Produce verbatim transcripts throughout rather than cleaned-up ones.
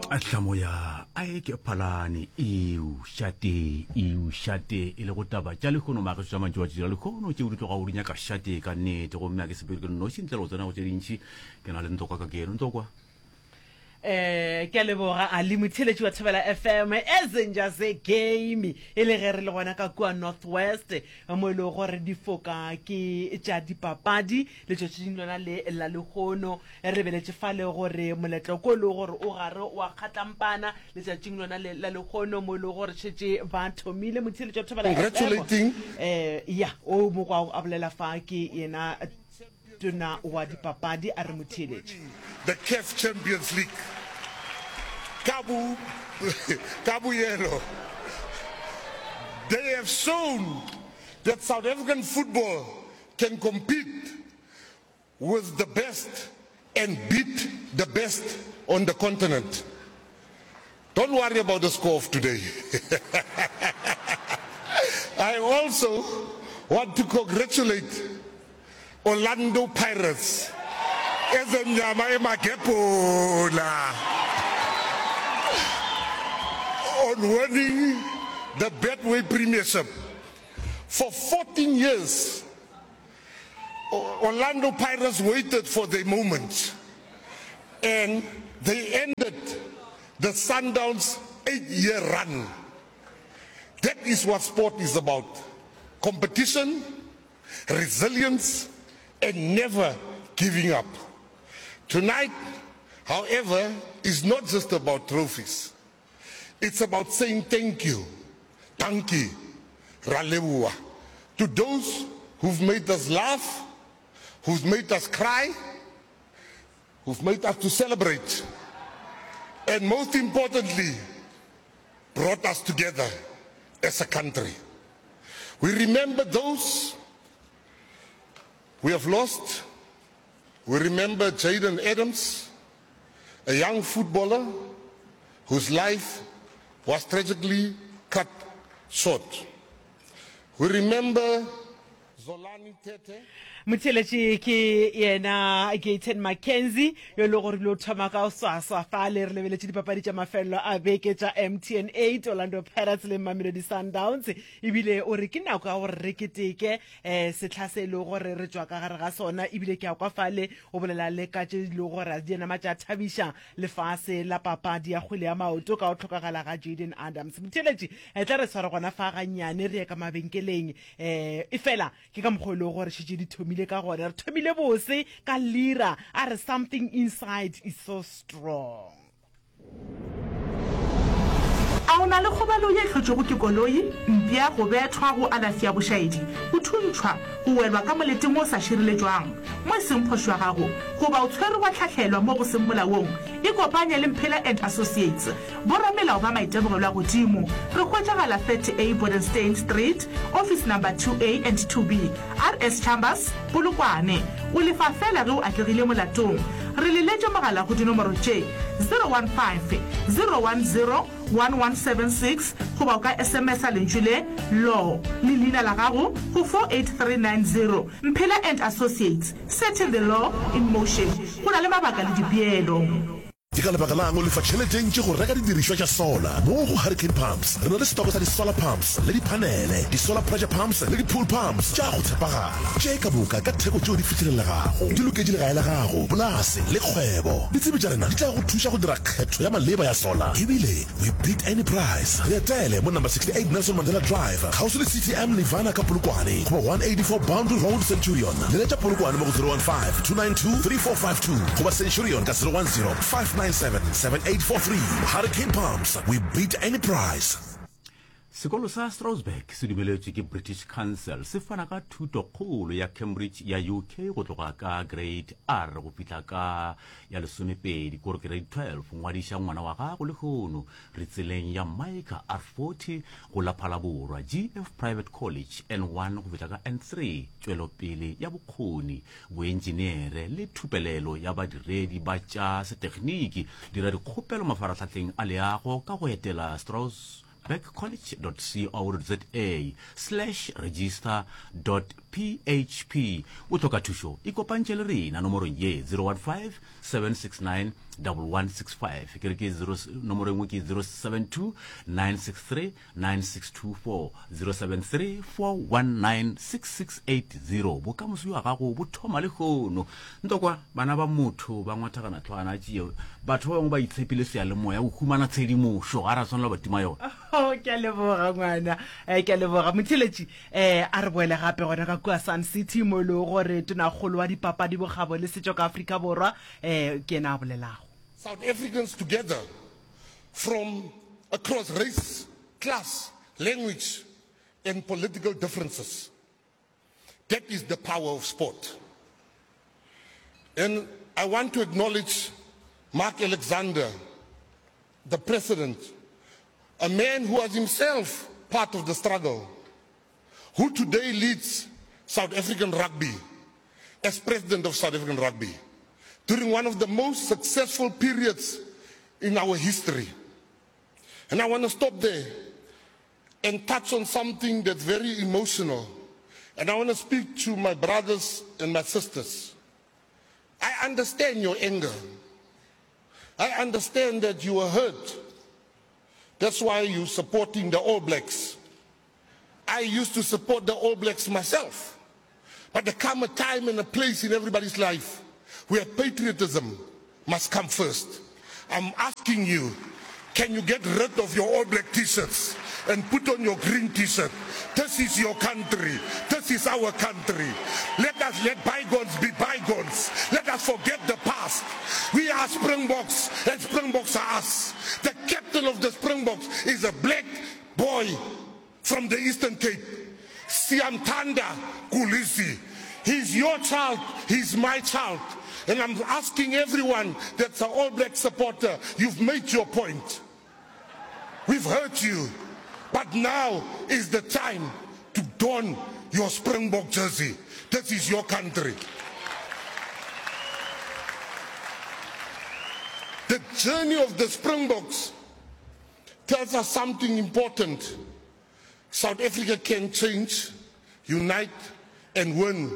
Tlamo ya Ike Phalane eo šate eo šate e lego taba tša lehono mageso tša mantšu wa tšira lehono tšeo di tlogago di nyaka šate ka nnete gomme a ke sepele ke nnoši ntle le go tsena go tše dintši ke na le ntokwa ka keno ntokwa eh ke a leboga a le motheletši wa thobela fm ezenja ze game e le ge re le gona ka kua north west mo e lego gore difoka ke tša dipapadi letšatšing lona le la lehono re lebeletše fale gore moletlo ko e lego gore o gare wa kgatlampana letšatšing lona le la lehono mo e lego gore šetše ba thomile motheletši wa thobela Congratulating. eh ya o mokwa a bolela fa ke yena tona wa dipapadi a re motheletši the CAF Champions League. Kabu, Kabuyelo. They have shown that South African football can compete with the best and beat the best on the continent. Don't worry about the score of today. I also want to congratulate Orlando Pirates Ezemnyama Emagepola on winning the Betway Premiership. For fourteen years, Orlando Pirates waited for their moment and they ended the Sundowns eight-year run. That is what sport is about. Competition, resilience, and never giving up. Tonight, however, is not just about trophies. It's about saying thank you, dankie, raleboa, to those who've made us laugh, who've made us cry, who've made us to celebrate, and most importantly, brought us together as a country. We remember those we have lost. We remember Jaden Adams, a young footballer whose life was tragically cut short. We remember Zolani Tete. Motheletši ke yena Gayton McKenzie yo e le gore bile o thoma ka o swaswa fale re lebeletše dipapadi tša mafelelo a beke tša M T N eight Orlando Pirates le Mamelodi Sundowns ebile o re ke nako ya gore re keteke um sehla se e lego gore re tšwa ka gare ga sona ebile ke a kwa fale o bolela le ka tše di lego gore di nama tša thabiša lefase la papadi ya kgwele ya maoto ka go hlokagala ga Jaden Adams. Motheletši e tla re sware gona fa gannyane re ye ka mabenkeleng um e fela ke ka mokgwa e lego gore šetše di thomile ka gona re thomile bose ka lira a re something inside is so strong. A o na le kgobalo ye e hlotšwego ke koloi, mpša, go bethwa, go alafi ya bošaedi, go thuntšhwa, go welwa ka moleteng wo o sa šireletšwang, mo e seng phošo ya gago, goba o tshwerwe wa hlahlelwa mo go seng molaong? Ikopanye le Mphela and Associates, boramelao ba maitemogelo a godimo. Re hwetšagala thirty A Bodenstein Street, Office Number two A and two B, R S Chambers, Polokwane. O lefa feela ge o atlegile molatong. Re leletše mogala go dinomoro tše, zero one five, zero one zero, one one seven six goba o ka S M S-a lentšu le, Law, le leina la gago go four eight three nine zero. Mphela and Associates, setting the law in motion. Go na le mabaka le dipeelo. Ke ka lebaka la'ng o lefa tšhelete e ntši go reka didirišwa tša solar? Mo go Hurricane Pumps re na le setoko sa di-solar pumps le diphanele, di-solar pressure pumps le di-pool pumps tša go tshepagala. Tše ka moka ka theko tšeo di fihlelelegago. Di loketše legae la gago, polase le kgwebo. Ditsebi tša rena di tla go thuša go dira kgetho ya maleba ya solar. Ebile we beat any price. Re etele mo number sixty-eight Nelson Mandela Drive, kgauswi le C T M Nirvana ka Polokwane goba one eighty-four Boundary Road, Centurion. Leletša Polokwane mo go zero one five, two nine two, three four five two goba Centurion ka zero one zero, five nine seven, seven eight four three. Hurricane Pumps, we beat any price. Sekolo sa Strasbourg se dumeletšwe ke British Council se fana ka thutokgolo ya Cambridge ya U K go tloga ka grade R go fihla ka ya lesomepedi kore grade twelve. Ngwadiša ngwana wa gago lehono re tseleng ya Mica R forty go la Phalaborwa G F Private College N one go fihla ka N three. Tšwelopele ya bokgoni boentšeneere le thupelelo ya badiredi ba tša setegniki. Dira dikgopelo mafaratlhahleng a leago ka go etela Strauss roseburgcollege dot co dot za slash register dot php. O hloka thušo, ikopantšhe le rena nomorong ye zero one five seven six nine double one six five. Ke re ke zero, nomoro e nngwe ke zero seven two nine six three nine six two four, zero seven three four one nine six six eight zero. Bokamoso bja gago bo thoma lehono. Ntokwa, bana ba motho ba ngwathagana tlhwana tšeo. Batho ba bangwe ba itshepile seyalemoya go humana tshedimošo, ga ra swanela ba tima yona. Oh, ke a leboga ngwana. Eh, ke a leboga motheletši. Eh, a re boele gape gona ka kua Sun City mo e lego gore tonakgolo wa dipapadi, bokgabo le setšo ka Afrika Borwa, eh, ke yena a bolelago. South Africans together from across race, class, language and political differences. That is the power of sport. And I want to acknowledge Mark Alexander, the president, a man who was himself part of the struggle, who today leads South African rugby as president of South African rugby during one of the most successful periods in our history. And I want to stop there and touch on something that's very emotional. And I want to speak to my brothers and my sisters. I understand your anger. I understand that you were hurt. That's why you're supporting the All Blacks. I used to support the All Blacks myself. But there come a time and a place in everybody's life where patriotism must come first. I'm asking you, can you get rid of your All Black t-shirts and put on your green t-shirt? This is your country. This is our country. Let us let bygones be bygones. Let us forget the past. We are Springboks, and Springboks are us. The captain of the Springboks is a black boy from the Eastern Cape, Siyamthanda Kolisi. He's your child. He's my child. And I'm asking everyone that's an All Black supporter, you've made your point. We've heard you. But now is the time to don your Springbok jersey. This is your country. The journey of the Springboks tells us something important. South Africa can change, unite, and win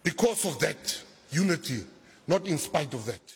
because of that unity, not in spite of that.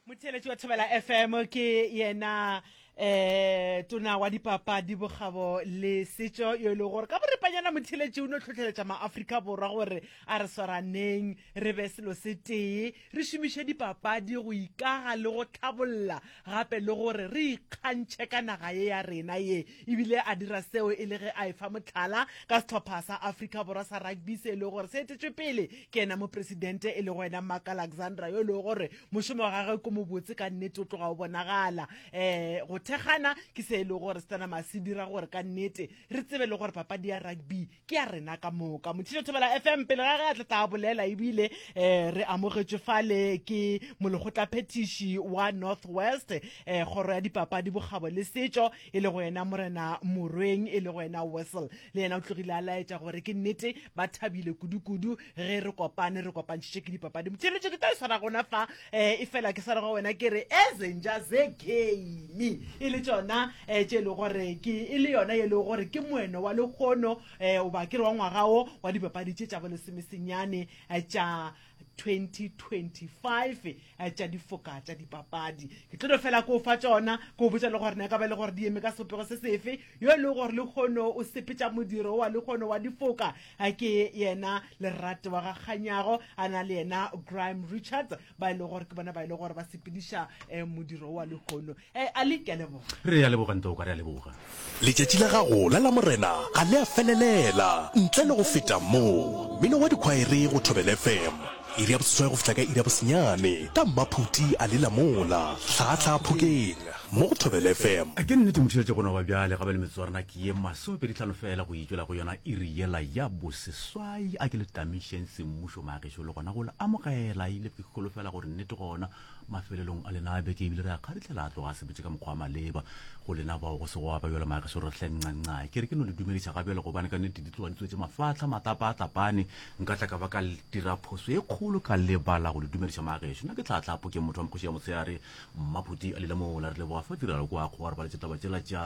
Motheeletši wa Thobela F M ke yena, eh, tona wa dipapadi, bokgabo le setšo, yo e lego gore ka boripanyana motheeletši o no hlohleletša maAfrika Borwa gore a re swaraneng, re be selo se tee, re šomiše dipapadi go ikaga le go tlhabolla, gape le gore re ikgantšhe ka naga ye ya rena ye. Ebile a dira seo e le ge a efa mohlala ka sehlopha sa Afrika Borwa sa rugby se e lego gore se etetšwe pele ke yena mopresidente e lego yena Mark Alexander, yo e lego gore mošomo wa gagwe ke mobotse ka nnete, o tloga o bonagala. Eh, go thekgana ke se e lego gore se tla nama se dira gore ka nnete re tsebe le gore papadi ya rugby ke ya rena ka moka. Motšhitšo Thobela F M pele ga ge a tla tla bolela, ebile, eh, re amogetšwe fale ke molekgotlaphethiši wa North West, eh, kgoro ya dipapadi, bokgabo le setšo, e lego yena Morena Morweng, e lego yena Wessel. Le yena o tlogile a laetša gore ke nnete ba thabile kudu-kudu ge re kopane, re kopantšhitše ke dipapadi. Motšheletšo ke tla e swara gona fa, eh, e fela ke swara go wena ke re Ezenja ze game e le tšona, eh, tše e lego gore ke, e le yona e lego gore ke moeno wa lekgono, eh, goba ke re wa ngwaga wo wa dipapadi tše tša bolesomesenyane, eh, tša twenty twenty-five, eh, tša difoka tša dipapadi. Ke tlo no fela ko fa tšona, ko botša le gore na e ka ba le gore di eme ka sebopego se sefe. Yo e lego gore lekgono o sepetša modiro wa lekgono wa difoka, eh, ke yena Lerato wa ga Kganyago, a na le yena Graham Richards, ba e lego gore ke bona ba e lego gore ba sepediša, eh, modiro wa lekgono. Eh, Ali, ke a leboga. Re a leboga, Ntoka, re a leboga. Letšatši la gago la Lamorena ga le a felelela ntle le go feta mo. Mmino wa dikhwaere go Thobela F M, iri ya boseswai go fihla ka iri ya bosenyane, ka Mmaphuti a le Lamola, Hlahla Phokeng, mo go Thobela F M. Ke nnete motheeletši go no ba bjale, gape le metsotso ya rena ke ye masomepedi hlano fela go itšwela go yona iri yela ya boseswai. A ke le tamišeng semmušo maagešo le gona go le amogela, ile ke holofela gore nnete gona mafelelong a lena a beke ebile re a kgaritlhela a tloga a sebetse ka mokgwa wa maleba go lena bao go se go aba bjalo maagešo re hle ncancae ke re ke no le dumediša ga bjale gobane ka nnete di tloga di tswetše mafahla matlapa a tlapane nka tla ka ba ka dira phoso e kgolo ka lebala go le dumediša maagešo nna ke tlhatlapo ke motho wa mokgoši ya motshehare mmaphuti a lilamola re leboga fa tirelo kwa kgowa re baletše taba tšela tša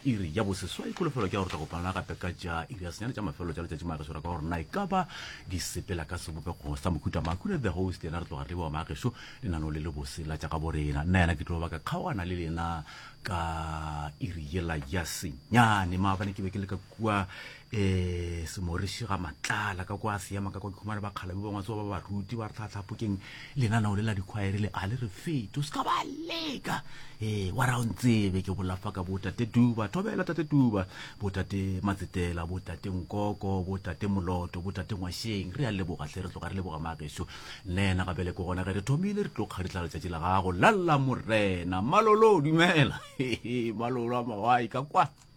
iri ya boseswai kholofelo ke ya gore tla kopana gape ka tša iri ya senyane tša mafelelo tša letšatši maagešo ra ka gore na e ka ba di sepela ka sebopego sa mohuta makhure the host yena re tloga re leboga maagešo lenaneo le lebose la tša ga borena nna yena ke tlo ba ka kgaogana le lena ka iri yela ya senyane maabane ke be ke le ka kua um semoriši ga matlala ka kwa seema ka kwa ke khumane bakgalabi ba ngwatse ba baruti ba re tlhatlhapokeng lenaneo le la dikhwaere le a le re fete o se ka ba leka ee wa ra o ntsebe ke bolafa ka botate duba thobela tate duba botate matsetela botate nkoko botate moloto botate ngwašeng re a leboga hle re tloga re leboga maagešo nna yena gabele ke gona ge re thomile re tlo kgaritla letšatši la gago lalla morena malolo dumela malolo a mawai ka kwa.